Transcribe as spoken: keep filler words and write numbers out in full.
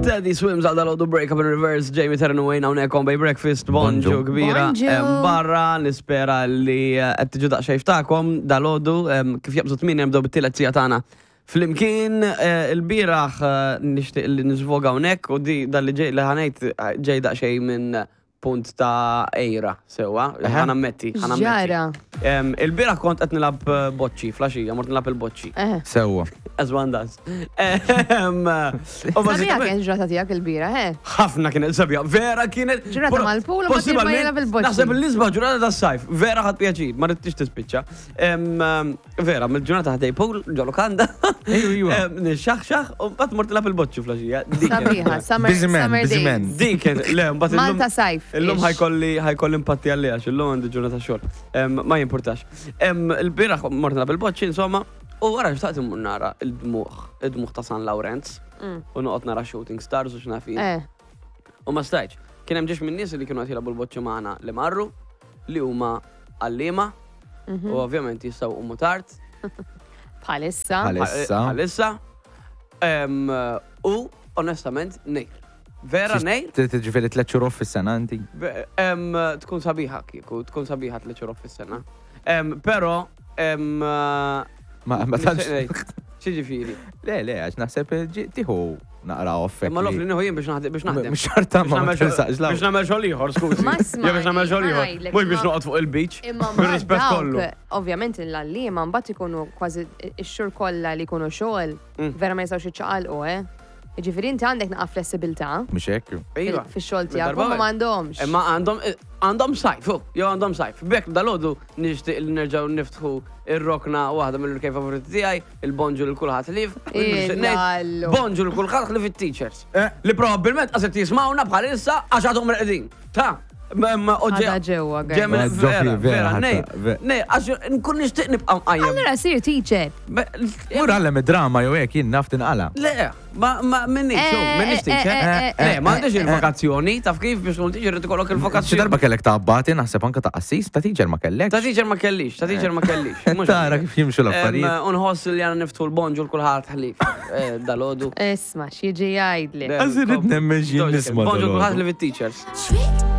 Teddy Swims għal dal-għodu, Break Up in Reverse, Jamie Terran Wayne hawnhekk on Bay Breakfast, bonġu Bonġu. Kbira. Bonġu. Em, Barra, nispera li eh, qed tiġu daqsxejn ftakom dal-għodu, em, kif jaqbżu tmien nibdew bit-tielet siegħa tagħna. Flimkien eh, il-bieraħ eh, nixtieq li niżvoga hawnhekk u di dal-li ġej li ħa ngħid eh, ġej daqsxejn minn punt ta' għira, sewwa, ħa nammetti, ħa nammetti. Ġara. Em, Il-bieraħ kont qed nilgħab eh, boċċi, filgħaxija, mort nilgħab il-boċċi. Eh. Sewwa. As one does. Em, u Sabiħa bażikament- kien ġrata tiegħek il-bieraħ, eh? ħafna kienet sabiħa, vera kienet. Ġurnata mal-pool u ma Possibilment, jilgħab il-boċċi. Naħseb l-isbaħ ġurnata tas-sajf, vera ħadt pjaċir, ma ridtix tispiċċa. Em, em, Vera, mill-ġurnata ħdejn pool, ġo lukanda. Ejju, ejju. Em, Nixxaħxaħ, u mbagħad mort nilgħab il-boċċi filgħaxija. Dik kienet- Sabiħa, summer, Busy man, summer busy days. man. Dik kienet, le, mbagħad illum. Malta sajf. Illum ish. ħa jkolli ħa jkolli impatti għalli għax illum għandi ġurnata xogħol. Em, Ma jimpurtax. Em, Il-bieraħ mort nilgħab il-boċċi, insomma, u wara xtaqt immur nara il-dmuħ, il-dmuħ ta' San Lawrenz, Mm. u noqgħod nara shooting stars u x'naf jien. Eh, U ma stajtx. Kien hemm ġiex minn nies li kienu qed jilagħbu l-boċċi magħna li marru, li huma għalliema, Mhm. u ovvjament jistgħu jqumu tard. Bħalissa. Bħalissa. Bħalissa. Em, U onestament nejr. Vera nejr. Ġifieri tliet xhur off fis-sena inti. Ve- em, Tkun sabiħa kieku, tkun sabiħa tliet xhur off fis-sena. Em, Però em, Ma ma tantx. X'jiġifieri? Le, le, għax naħseb ġi- tieħu naqra off. Imma l-off li nieħu jien biex naħdem biex naħdem. Mhux xorta Biex ma nagħmel xogħol- tinsaqx Biex nagħmel xogħol ieħor, skużi. Ma Jew biex nagħmel xogħol ieħor. ngħidlek, Mhux biex ma- noqgħod fuq il-beach. Imma Bir-rispett dawk, kollu. ovvjament l-għalliema mbagħad ikunu kważi ix-xhur kollha li jkunu xogħol, Mm. vera ma jistgħux jiċċaqalqu, eh? Ġifieri inti għandek naqa flessibilità Mhux hekk. Iva. fix-xogħol tiegħek, Darba huma wieħed. m'għandhomx. Imma għandhom għandhom sajf, hu, jew għandhom sajf. B'hekk dal-għodu nixtieq li nerġgħu niftħu ir-rokna waħda mill-kej favoriti tiegħi, il-bonġu lil kulħadd ħlief. Illallu. Bonġu lil kulħadd ħlief it-teachers. Eh. Li probabbilment qed jisimgħuna bħalissa għax għadhom reqdin. Ta' ma Għadha ġewwa, guys. Ġemel, Ma vera, ġofi, vera, vera, ħatta, nej, ve- nej, għax nkun nixtieq nibqa' mqajjem. Allura sir teacher. Be- Mur għallem id-drama jew hekk jien naf tinqala. Le, ma ma minni, Eh, xu, minni eh, teacher. eh, eh, Le, ma eh, għandix il-vokazzjoni, taf kif biex tkun teacher irid ikollok Xi il-vokazzjoni. darba kellek ta' abbati, naħseb anka ta' qassis, ta' teacher ma kellek. Ta' teacher ma kellix, ta' teacher ma kellix. Mhux Tara għalhekk. kif jimxu l-affarijiet. Em, Unħoss li għana niftħu l-bonġu l-kulħadd ħlief eh, dal-għodu. Isma, x'jiġi jgħidli. Għax irrid nemmen x'jien nisma' Bonġu dal-għodu. l-kulħadd ħlief it-teachers. Sweet